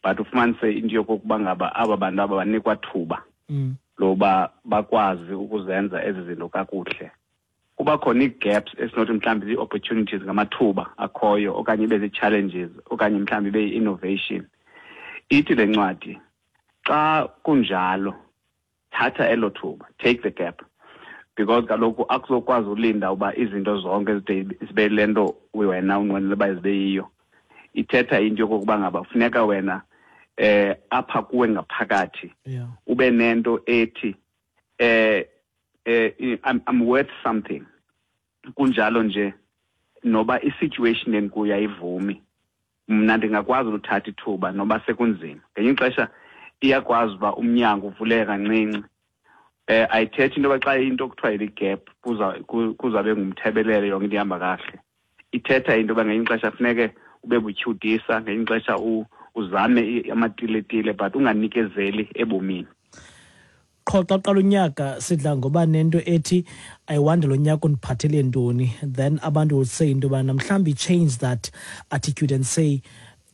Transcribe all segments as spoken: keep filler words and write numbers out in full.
But ufumanise into yokokuba ngaba aba bantu aba banikwa thuba Mm. loba bakwazi ukuzenza ezi zinto kakuhle. Kuba khona ii-gaps esinothi mhlawumbi zii-opportunities, ngamathuba akhoyo, okanye ibe zii-challenges, okanye mhlawumbi ibe yi-innovation. Ithi le ncwadi, xa kunjalo, thatha elo thuba, take the gap, because kaloku akuzokwazi ulinda uba izinto zonke zide zibe le nto wena unqwenela uba zibe yiyo. Ithetha into yokokuba ngaba funeka wena eh apha kuwe ngaphakathi Yeah. ube nento ethi eh eh I'm, I'm worth something. Kunjalo nje, noba i-situation endikuyo ayivumi, mna ndingakwazi ukuthatha ithuba noba sekunzima. Ngenye ixesha iyakwazi uba umnyango uvuleke kancinci. eh ayithethi into yoba xa into kuthiwa yi-gap kuza ku- kuzabe ngumthebelele, yonke into ihamba kakuhle. Ithetha into yoba ngenye ixesha funeke ube butyhudisa, ngenye ixesha u- uzame i- amatiletile, but unganikezeli ebomini. Qho xa uqala unyaka sidla ngoba nento ethi, "I wonder lo nyaka undiphathele ntoni?" Then abantu will say into yobana mhlawumbi change that attitude and say,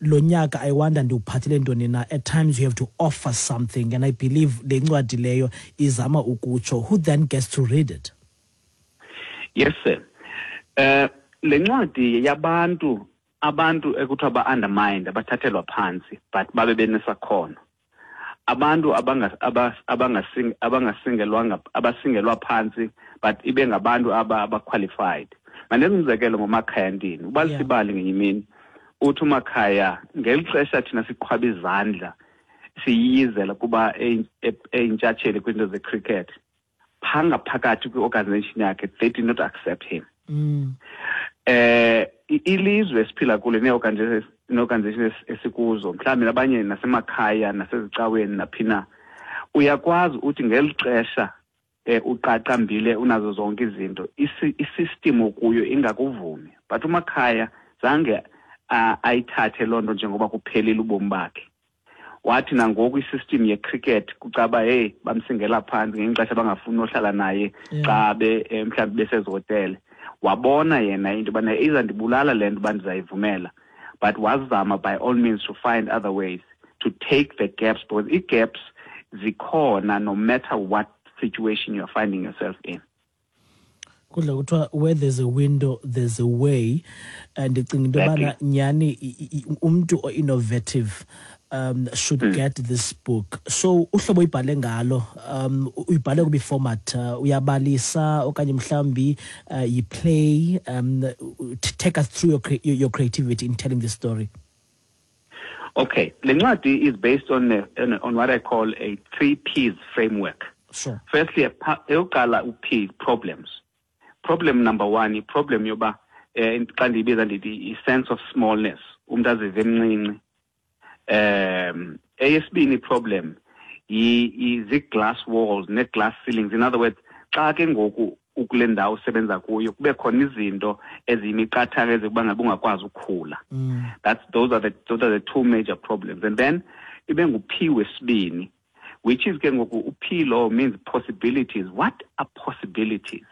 "Lo nyaka I wonder ndiwuphathele ntoni na?" At times you have to offer something, and I believe le ncwadi leyo izama ukutsho. Who then gets to read it? Yes sir, eh le ncwadi yabantu, abantu ekuthiwa ba-undermined, abathathelwa phantsi, but babe benesakhono, abantu abanga- aba- abangasing- abangasingelwanga, abasingelwa phantsi, but ibe ngabantu aba aba-qualified. Mandenze umzekelo ngoMakhaya Ntini. Ubalisa Yeah. ibali ngenye imini, uthi uMakhaya, ngeli xesha thina siqhwaba izandla siyiyizela kuba eyi- e- eyintshatsheli kwiinto ze-cricket, phaa ngaphakathi kwi-organization yakhe they did not accept him. mm. eh i- ilizwe esiphila kulo nee-organization nee-organization esikuzo, mhlawumbi nabanye nasemakhaya, nasezicaweni, naphina, uyakwazi uthi ngeli xesha eh uqaqambile, unazo zonke izinto, isi- i-system okuyo ingakuvumi. But uMakhaya zange ah, ayithathe loo nto njengoba kuphelile ubomi bakhe. Wathi nangoku i-system ye-cricket kucaba, hey, bamsingela phantsi, ngenye ixesha bangafuni nohlala naye Yeah. xa be eh, mhlawumbi besezihotele. Wabona yena into yobana izandibulala le nto uba ndizayivumela, but wazama by all means to find other ways to take the gaps, because ii-gaps zikhona no matter what situation you're finding yourself in. Kudla kuthiwa where there's a window, there's a way, and ndicinga into yobana Exactly. nyhani i- i- umntu o-innovative um should mm. get this book. So uhlobo uyibhale ngalo, um uyibhale kubi format uh, uyabalisa okanye mhlawumbi uh, yi-play? um t- take us through your, cre- your, your creativity in telling the story. Okay, le ncwadi is based on, a, on, on what I call a three P's framework. Sure firstly, epa- eyokuqala u-P, problems. Problem number one, i-problem yoba eh xa ndiyibiza ndithi i-sense of smallness, umntu azive emncinci. um eyesibini problem yi- zii-glass walls nee-glass ceilings. In other words, xa ke ngoku ukule ndawo usebenza kuyo kube khona izinto eziyimiqathango ezikuba ngabe ungakwazi ukukhula. mm. That's those are the those are the two major problems. And then ibe ngu-P wesibini, which is ke ngoku u-P lo means possibilities. What are possibilities?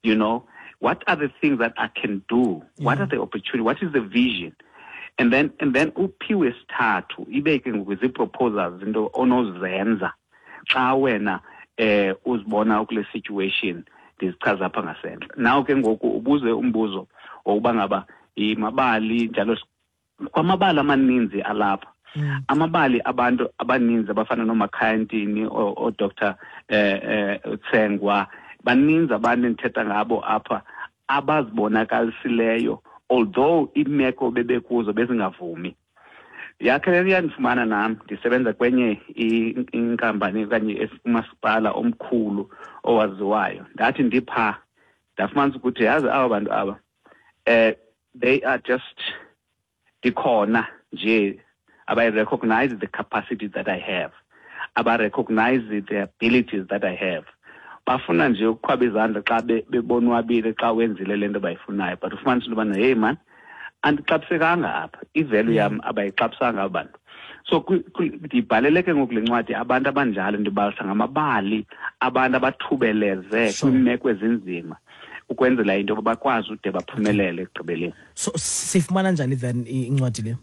You know, what are the things that I can do? What Yeah. are the opportunities? What is the vision? And then and then u-P wesithathu ibe ke ngoku zii-proposals, into onozenza xa wena eh uzibona ukule situation ndizichaza apha ngasentla. Now ke ngoku ubuze umbuzo wokuba ngaba imabali njalo, kwamabali amaninzi alapha, Mm. amabali abantu abaninzi abafana noMakhaya Ntini, oo-Doctor eh eh Tsengwa, baninzi abantu endithetha ngabo apha abazibonakalisileyo although imeko bebekuzo bezingavumi. Yakhe le yandifumana nam ndisebenza kwenye i- inkampani okanye es- umasipala omkhulu owaziwayo. Ndathi ndipha ndafumanisa ukuthi, yazi, aba bantu aba eh they are just, ndikhona nje, abayi-recognize the capacity that I have, aba-recognize the abilities that I have. Bafuna nje ukuqhwaba izandla xa be- bebonwabile xa wenzile le nto bayifunayo, but ufumanisa into yobana, hey man, andixabisekanga apha, i-value yam abayixabisanga aba bantu. So kwi- kwi- ndibhalele ke ngoku le ncwadi abantu abanjalo, ndibalisa ngamabali abantu abathubeleze Sure. kwiimeko ezinzima ukwenzela into yoba bakwazi ude baphumelele ekugqibeleni. So sifumana njani then i- incwadi le?